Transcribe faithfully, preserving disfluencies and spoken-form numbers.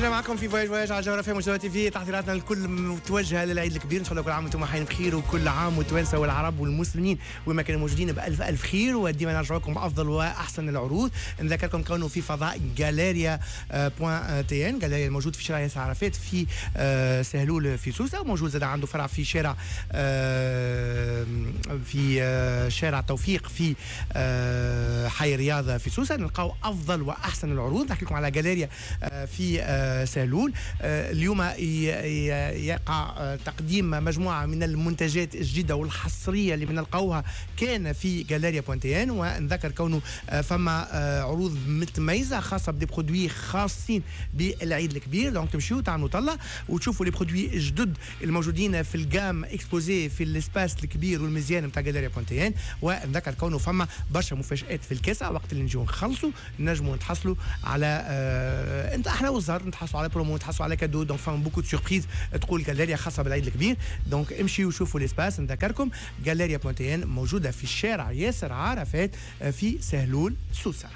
مازلنا معكم في voyage voyage على جوهرة اف ام تي في. تحضيراتنا الكل متوجهه للعيد الكبير، ان شاء الله كل عام وانتم حيين بخير، وكل عام والتوانسه والعرب والمسلمين وما كانوا موجودين بالف الف خير، وديما نرجع لكم بافضل واحسن العروض. نذكركم كونه في فضاء Galeria point tn، Galeria الموجود في شارع ياسر عرفات في آه، سهلول في سوسه، وموجود زاد عنده فرع في شارع آه، في آه، شارع توفيق في حي الرياض في سوسه. نلقاو افضل واحسن العروض. نحكي لكم على جاليريا في سهلول. اليوم يقع تقديم مجموعة من المنتجات الجديدة والحصريه اللي بنلقاوها كان في Galeria point tn. ونذكر كونه فما عروض متميزة خاصة ب des produits خاصين بالعيد الكبير، donc تمشيو تعملوا طلة وتشوفوا les produits الجدد الموجودين في ال gamme exposée في ال espace الكبير والمزيان نتاع Galeria point tn. ونذكر كونه فما برشا مفاجات في الكاسه، وقت اللي نجيو نخلصوا نجموا نتحصلوا على آه انت احنا والزهر نتحصلوا على برومو، نتحصلوا على cadeau، donc فما beaucoup de surprises تقول جاليريا خاصة بالعيد الكبير. donc امشيوا وشوفوا l'espace. نذكركم Galeria point tn موجودة في الشارع ياسر عرفات في سهلول سوسه.